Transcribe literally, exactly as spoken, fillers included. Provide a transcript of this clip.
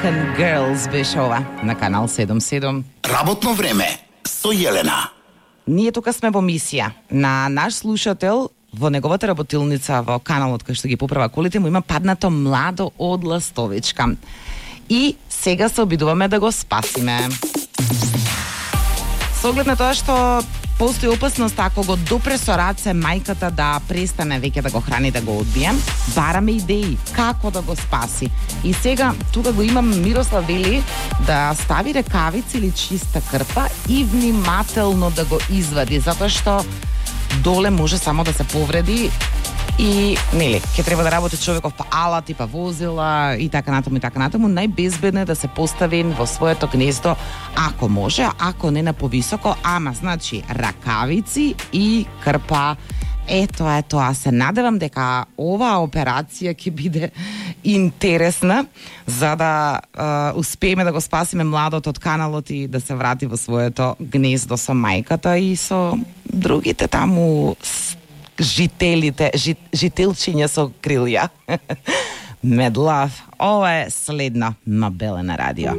American Girls беше ова на канал седум седум. Работно време со Јелена. Ние тука сме во мисија на наш слушател во неговата работилница во каналот кај што ги поправа колите му има паднато младо од ластовичка. И сега се обидуваме да го спасиме. Со оглед на тоа што постои опасност ако го допре со раце мајката да престане веќе да го храни, да го одбие, бараме идеи како да го спаси. И сега тука го имам Мирослав вели да стави рекавици или чиста крпа и внимателно да го извади, затоа што доле може само да се повреди и нели, ќе треба да работи човеков па алати, па возила и така натаму и така натаму. Најбезбедно е да се постави во своето гнездо ако може, ако не на повисоко, ама значи ракавици и крпа. Ето е тоа, се надевам дека оваа операција ќе биде интересна за да е, успееме да го спасиме младот од каналот и да се врати во своето гнездо со мајката и со другите таму жителите, жит, жителчиња со крилја. Медлав, ова е следно на Белена радио.